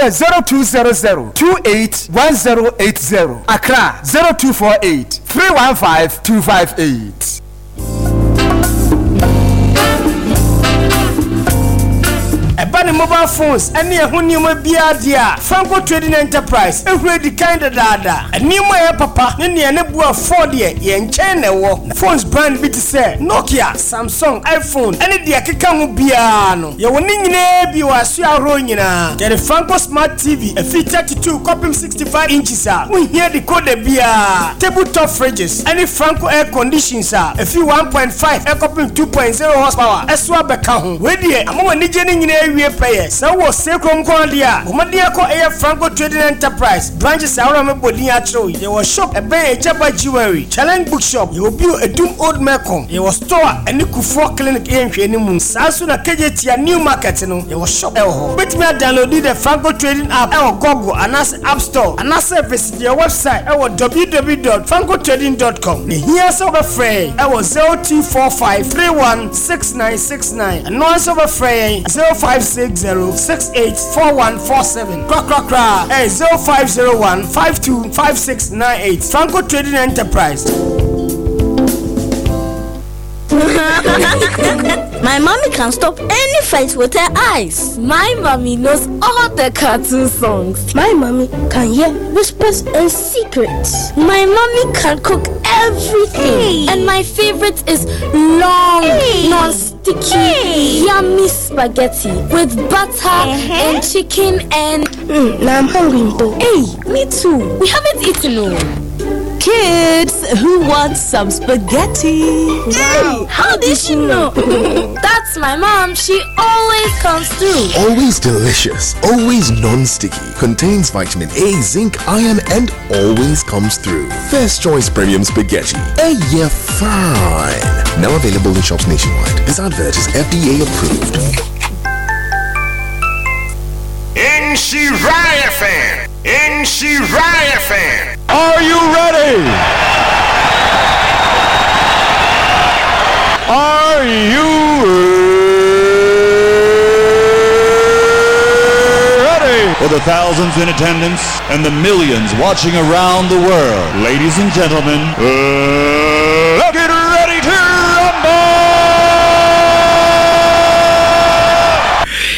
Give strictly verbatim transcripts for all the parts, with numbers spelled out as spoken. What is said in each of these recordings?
Anaasɛ zero two zero zero two eight one zero eight zero. Accra zero two four eight three one five two five eight. Ɛba ne mobile phones ne ɛho nneɛma biara deɛ a, Franco Trading Enterprise ahuru adi kan dadaada. Nneɛma a ɛyɛ papa ne nea ne bo afɔ deɛ, yɛn nkyɛn na ɛwɔ. Phones brand bi te sɛ Nokia, Samsung, iPhone ne deɛ ɛkeka ho biara no, yɛwɔ ne nyinaa bi wɔ asoɛ ahorow nyinaa. Yɛde Franco Smart T V ɛfiri thirty-two kɔpem sixty-five inches a wonhia decoder biara, table top fridges ne Franco air conditions a ɛfiri one point five ɛkɔpem two point zero horsepower ɛso abɛka ho. Wei deɛ, ama w'anigye no nyinaa awie pɛyɛ. Sɛ wowɔ Sekrom nko adeɛ a, bɔ mmɔden akɔ ɛyɛ Franco Trading Enterprise branches ahorow a mebɔ din akyerɛw yi. Yɛwɔ shop ɛbɛn Agyaba Jewelry, Challenge Bookshop. Yɛwɔ bio Edum Old Melcom. Yɛwɔ store a ɛne Kufuor Clinic yɛ nhwɛni mu. Saa nso na Kejetia New Market no, yɛwɔ shop ɛwɔ hɔ. Wobɛtumi adownload the Franco Trading app ɛwɔ Google anaasɛ App Store, anaasɛ visit yɛn website ɛwɔ w w w dot francotrading dot com. Na hia sɛ wobɛfrɛ yɛn ɛwɔ zero two four five three one six nine six nine. Ɛno ara nso wobɛfrɛ yɛn zero five six zero six eight four one four seven. Korakorakora ɛyɛ zero five zero one five two five six nine eight. Franco Trading Enterprise. My mommy can stop any fight with her eyes. My mommy knows all the cartoon songs. My mommy can hear whispers and secrets. My mommy can cook everything. Hey. And my favorite is long, Hey. non-sticky, Hey. yummy spaghetti with butter Uh-huh. and chicken and Mm, now I'm hungry though. Hey, me too. We haven't eaten, no. Kids, who wants some spaghetti? Wow. How did she know? That's my mom. She always comes through. Always delicious, always non-sticky. Contains vitamin A, zinc, iron, and always comes through. First Choice Premium Spaghetti. A year fine. Now available in shops nationwide. This advert is F D A approved. Nhyira F M. Nhyira F M. Are you ready? Are you ready? For the thousands in attendance and the millions watching around the world, ladies and gentlemen, uh, let's get ready to rumble!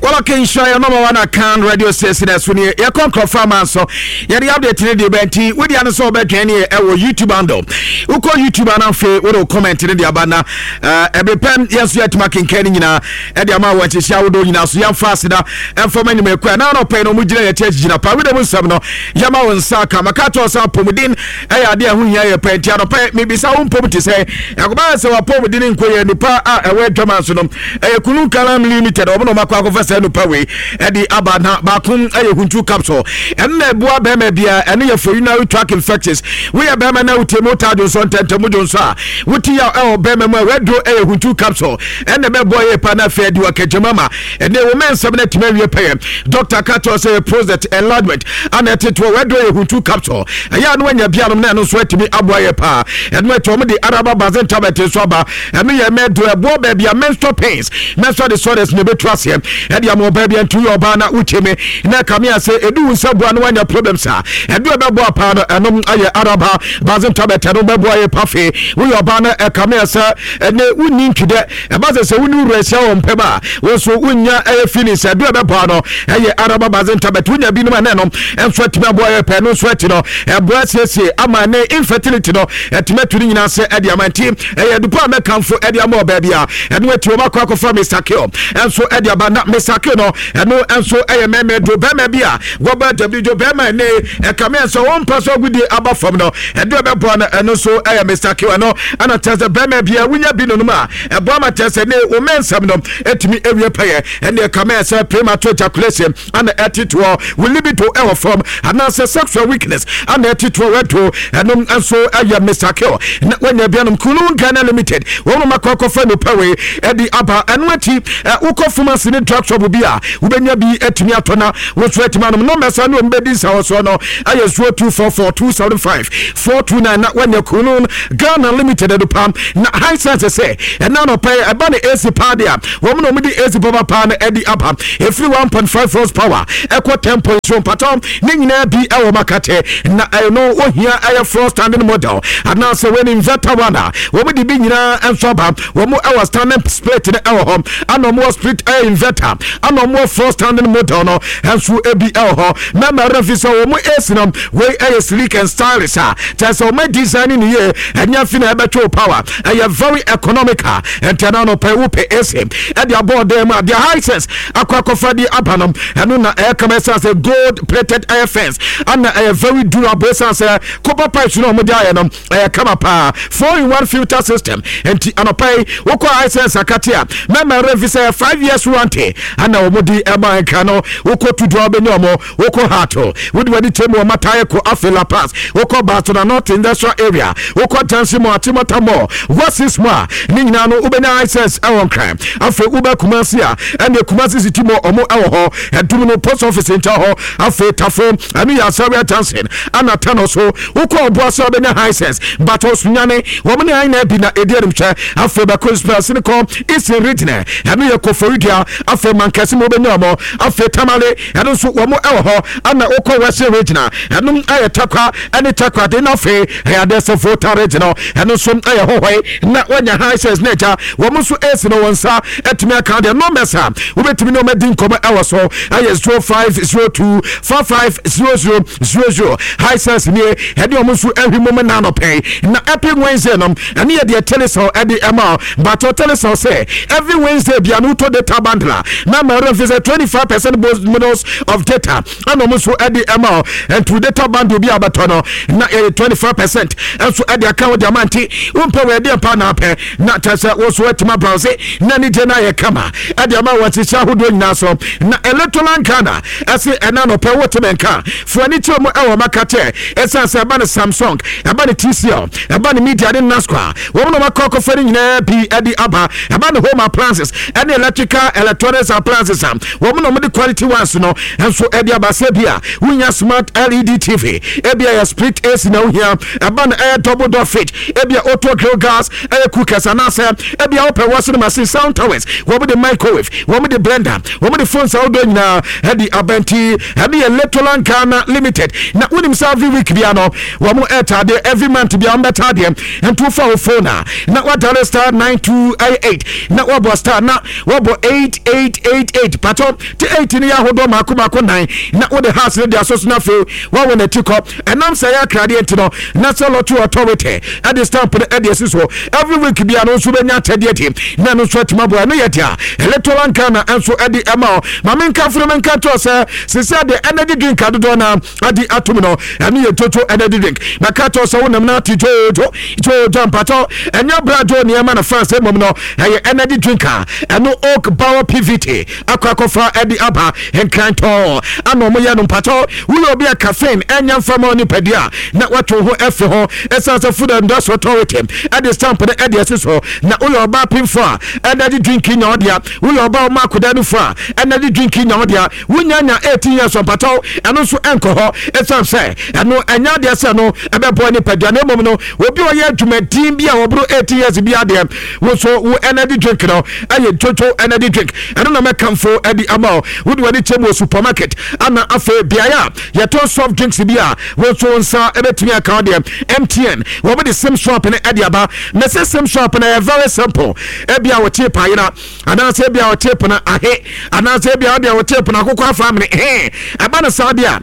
Well, okay, nhyira yɛ number one Akan radio station. Ɛso nie, yɛkɔ nkurɔfoɔ ama nso yɛde update ne deɛ bɛnti wodi ano sɛ wobɛdwɛn ne ɛwɔ YouTube handle. Wokɔ YouTube ana, afei wode wo comment ne de aba na ɛbere pɛm yɛn nso yɛatumi akenkan no nyinaa ɛde ama wɔ nhyehyɛ ahodoɔ nyinaa so. Yɛmfa aseda ɛmfa ma nnwumakuo a na anɔpɛ no ɔmo gyina yɛte akyigyina pa wode mu nsɛm no yɛma wo nsa aka. Maka kyerɛ sɛ apɔmuden ɛyɛ adeɛ a ɛho hia yɛ pɛ, nti anɔpɛ mebisa wo mpom te sɛ ɛkɔba sɛ wapɔmuden nkɔ yɛ nipa a ɛwɔ adwama so no. Ɛyɛ Kunu Kalam Limited, ɔmo na ɔmakɔ akɔfa saa nipa wei ɛde aba na baako ɛyɛ Huntu capsule. Ɛno na ɛboa bɛrima bia. Ɛno yɛ for urinary tract infections. Woyɛ bɛrima na wotie mu, wotaa dwonsɔ ntɛntɛm dwonsɔ a wote yaw ɛwɔ bɛrima mu a, waduro ɛyɛ Huntu capsule. Ɛna ɛbɛboa yɛ pa na afei adi wakagyama ma ɛnɛ wo mɛnsɛm no atumi awie pɛyɛ. Doctor ka kyerɛ sɛ yɛ prostate enlargement ana ɛtetoɔ, waduro yɛ Huntu capsule. Ɛyɛ a no wanya bianom na ɛno nso atumi aboa yɛ paa. Ɛno akyi ɔmo de Araba Bazen tablet nso aba. Ɛno yɛ mɛduro, ɛboa baabi a menstrual pains, menstrual disorders na ɛbɛtu aseɛ ɛde ama ɔbaa bi. Nti woyɛ ɔbaa na wotie me na ɛka me a sɛ ɛdu wo nsa bua no woanya problems a, ɛdo ɛbɛboa paa no, ɛnom ayɛ Araba Bazen tablet. Ɛno bɛboa yɛ pa. Fei woyɛ ɔbaa no, ɛka me a sɛ ɛnɛ wonni ntwidɛ, ɛba sɛ sɛ wone wura ahyia wɔ mpɛm a, wo nso wonya ɛyɛ feelings, ɛdo ɛbɛboa no ɛyɛ Araba Bazen tablet. Wonya binom a, na ɛno ɛnso atumi aboa yɛ pɛ. Ɛno nso akyi no, ɛboa siesie ama ne infertility no ɛtumi atu ne nyinaa sɛ ɛde ama. Nti ɛyɛ dupa a mɛkamfo ɛde ama ɔbaa bi a. Ɛno akyi wɔn akɔ akɔfa Mister Kill ɛnso ɛde aba na Mister Kill no, ɛno ɛnso ɛyɛ mɛmɛ do bɛrima bi a wɔba w bɛrima ne ɛkame ɛsɛ wɔn mpa so agudie aba fam no, ɛdo ɛbɛboa no, ɛno nso ɛyɛ Mister Kill. Ɛno ɛna kyerɛ sɛ bɛrima bi a wonya bi nonom a, ɛboa ma kyerɛ sɛ ne wɔn mɛnsɛm no ɛtumi awie pɛyɛ. Ɛne ɛkame ɛsɛ premature ejaculation ana ɛtetoɔ, wo libido ɛwɔ fam anaasɛ sexual weakness ana ɛtetoɔ, wɛdo ɛnom nso ɛyɛ Mister Kill na wanya bianom. Kulu Ghana Limited, wɔn mo akɔ akɔfa nipa wei ɛde aba. Ɛno akyi ɛ wokɔ pharmacy ne drug shop bi a a wobɛnya bi atumi atɔ na woso atumi anom. Nɔmba ne ɔmbɛdi nsa wɔ soɔ no ayɛ zero two four four two seven five four two nine na wanya Kunun Ghana Limited adupa. Na Hisense sɛ ɛna nɔpɛ ɛba ne A C paa de a, wɔn na wɔde A C papa paa no ɛde aba, ɛfiri one point five horsepower ɛkɔ ten point zero. Mpatɔ ne nyinaa bi ɛwɔ makate na ɛno ohia ɛyɛ floor standing model anaasɛ wɔn inverter one a, wɔn de bi nyinaa nso aba. Wɔn ɛwɔ standing split no ɛwɔ hɔ, ana wɔn wɔ split ɛyɛ inverter, ana wɔn wɔ floor standing model no nso ebi ɛwɔ hɔ. Mɛma ɛrɛ fi sɛ wɔn A C no wei ɛyɛ sleek and stylish a kyerɛ sɛ wɔn design ne yie, ɛnyɛ fi na ɛbɛtwe power, ɛyɛ very economical. Nti ɛna no pɛ wopɛ A C ɛde abɔ ɔdan mu a, deɛ Hisense akɔ akɔfa de aba no, ɛno na ɛyɛ kama, ɛsan sɛ gold plated air fence, ana ɛyɛ very durable, ɛsan sɛ copper pipes no a wɔde ayɛ no ɛyɛ kama paa, four in one filter system. Nti anɔpa yi wokɔ Hisense akate a, mɛma ɛrɛ fi sɛ five years warranty ana wɔn de ɛma nka no. Wokɔ Tudu a, wobɛnya wɔn. Wokɔ Hato, wode w'ani kyɛ mu wɔ Matayɛ ko. Afei Lapaz, wokɔ Barcelona North Industrial Area, wokɔ Junction Mall, Achimota Mall, Wasis mu a, ne nyinaa no wobɛnya Hisense ɛwɔ Nkran. Afei wobɛ Kumasi a, ɛne Kumasi City Mall, ɔmo ɛwɔ hɔ, ɛdum no post office nkyɛn hɔ. Afei Tafo, ɛno yɛ Asawia Junction, ana Tano so wokɔ Ɔboase a, wobɛnya Hisense. Batɔ Sunyane, wɔn ne ayi na bi na ɛdi animhwɛ. Afei bɛkɔ Spɛsini kɔ Eastern Region, ɛno yɛ Koforidua. Afei Mankɛse mu wobɛnya ɔmo. Afei Tamale, ɛno nso wɔn ɛwɔ hɔ, ana wokɔ Western Region a, ɛno ɛyɛ Takwa ɛne Takwa de na afei ɛyɛ adeɛ sɛ Volta Region no, ɛno nso ɛyɛ Hɔhɔe na wanya Hisense na agya wɔn nso esi no wɔn nsa ɛtumi aka deɛ. Numbers a wobɛtumi ne wɔn adi nkɔmɔ ɛwɔ so ɛyɛ zero five zero two four five zero zero zero zero. Hisense nie, ɛde wɔn nso ɛhwi mu mu nanɔpɛn. Na Epic Wednesday no, ɛne yɛ deɛ Telecel ɛde ɛma o batɔ. Telecel sɛ every Wednesday bia no, wotɔ data bundle a, na ma ɛrɛ fi sɛ twenty five percent bonus of data ɛna wɔn nso ɛde ɛma o. Ntu data bundle bi a bɛtɔ no na ɛyɛ twenty five percent ɛnso ɛde aka wo de ama. Nti wompɛ wɔ ɛdeɛ mpa na apɛ na kyerɛ sɛ wo so atuma browse na ne gye no ayɛ kama ɛde ama wɔ nhyehyɛ ahodoɔ nyinaa so. Na Electroland Ghana ɛse ɛna nɔpɛ wote me nka fo ani kyerɛ mu ɛwɔ maka kyɛ, ɛsiane sɛ ɛba ne Samsung, ɛba ne T C L, ɛba ne Media ne Nasco, wɔn na wɔakɔ akɔfa no nyinaa bi ɛde aba. Ɛba ne home appliances ɛne electrical electronics appliances a, wɔn na wɔde quality ones no nso ɛde aba, sɛ bi a wonya smart L E D T V, ebi a yɛ split A C na wohia, ɛba no ɛyɛ double door fridge, ebi a auto grill gas ɛyɛ cookers, anaasɛ ebi a wopɛ washing machine, sound towers, wɔn de microwave, wɔn de blender, wɔn de phones ahodoɔ nyinaa ɛde abɛnti. Ɛne yɛ Letolan Ghana Limited. Na wonim sɛ every week bia no wɔn ɛtaadeɛ, every month bia wɔn bɛtaadeɛ. Nti wofa wo phone a, na wadial star nine two eight na wabɔ star na wabɔ eight eight eight eight, patɔ te eight no yɛ ahodoɔ mako mako nnan, na wode hash no de aso so, na afei wawɔ n'akyi kɔ. Ɛnam sɛ ɛyɛ akradeɛ nti no, National Lottery Authority ɛde stamp no ɛde asi so. Every week bia no nso bɛnya akyɛdeɛ di na ɛno nso atumi aboa. Ɛno yɛ deɛ Electoral Ghana nso ɛde ɛma o. Maame nka funu menka kyerɛ sɛ sisi adeɛ energy drink adodoɔ na ade atom no, ɛno yɛ Jojo energy drink. Bɛka kyerɛ sɛ wonam no ate jojo jojo, mpatɔ ɛnyɛ bra jo nneɛma no France, mmom no ɛyɛ energy drink a ɛno Oak Power P V T akɔ akɔfa ɛde aba nkrantɔn ana ɔmo yɛ no. Mpatɔ woyɛ obi a caffeine ɛnyɛ mfama nipadua na wato ho ɛfi ho, ɛsiane sɛ Food and Drugs Authority ɛde stamp no ɛde asi so. Na woyɛ ɔbaa pimfo a, energy drink nya ɔdea. Woyɛ ɔbaa ɔmo akoda no fo a, energy drink nya ɔdea. Wonya nya eighteen years, mpatɔ ɛno nso ɛnkɔ hɔ, ɛsiane sɛ ɛno ɛnyɛ adeɛ sɛ no ɛbɛboa nipadua, na mmom no obi a ɔyɛ adwumadin bi a wɔboro eighteen years bi adeɛ, wo nso wo energy drink no ɛyɛ Jojo energy drink. Ɛno na mɛkamfo ɛde ama wo. Wode w'ani kyɛ mu wɔ supermarket ana afei beaeɛ a yɛtɔn soft drinks bi a, wo nso wo nsa ɛbɛtumi aka wo deɛ. M T N wɔn de SIM swap no ɛde aba. Mɛsɛ SIM swap no ɛyɛ very simple. Ebi a wɔte paayera, anaasɛ ebi a wɔte pono ahe, anaasɛ ebi a wɔde a wɔte pono akokɔ afa amene hɛn, ɛba no saa deɛ a,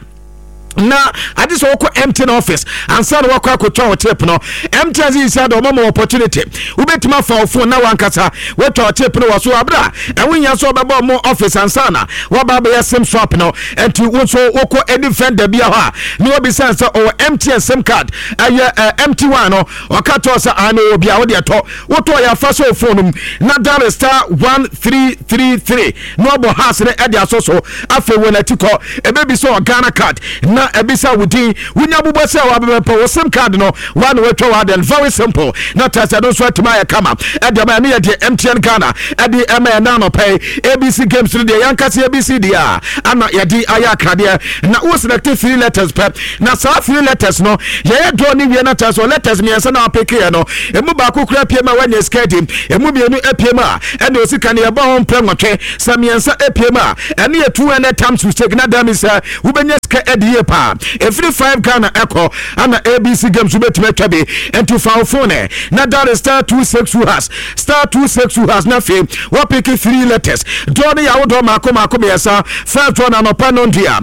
na ade sɛ wokɔ M T N office ansa na wakɔ akɔtwa wo chip no. M T N sɛ yisia de ɔma ma opportunity, wobɛtumi afa wo phone na wankasa woatwa wo chip no wɔ so aberɛ a ɛho hia sɛ wobɛbɔ mo office ansa na woaba abɛyɛ SIM swap no. Ɛnti wo nso wokɔ any vendor bi hɔ a, na wabisa sɛ ɔwɔ M T N SIM card ɛyɛ M T one no, ɔka kyerɛ sɛ ano wɔ bi a wode ɛtɔ, wotɔ yɛ afa sɛ wo phone no mu na dial star one three three three na wabɔ hash no ɛde asɔ so. Afei wɔ n'akyi kɔ, ɛbɛbi sɛ ɔ Ghana card na Na ɛbisa wo din, wonya bobɔ sɛ wabɛbɛpɛ wo SIM card no wa na watwa wa den. Very simple. Na kyerɛ sɛ no nso atumi ayɛ kama ɛde ama. Ɛno yɛ deɛ M T N Ghana ɛde ɛma yɛ nanɔpɛ. A B C games no deɛ, yɛnkase A B C deɛ a ana yɛde ayɛ akradeɛ na wo select three letters pɛ, na saa three letters no yɛyɛ draw ne wie. Na kyerɛ sɛ letters mmiɛnsa na wapick no, emu baako kura pie mu a, wanya sika di. Emu mmienu apue mu a, ɛna osika no yɛbɔ ho mpɛ nwɔtwe. Sɛ mmiɛnsa apue mu a, ɛne yɛ two hundred times mistake na dami sɛ wobɛnya sika adi yie paa. Ɛfiri five Ghana ɛkɔ ana A B C games wobɛtumi atwa bi. Nti fa wo phone ɛ na dial star two six two hash, star two six two hash, na afei wapick three letters. Draw no yɛ ahodoɔ maako maako mmiɛnsa. First one, anɔpa no ndua.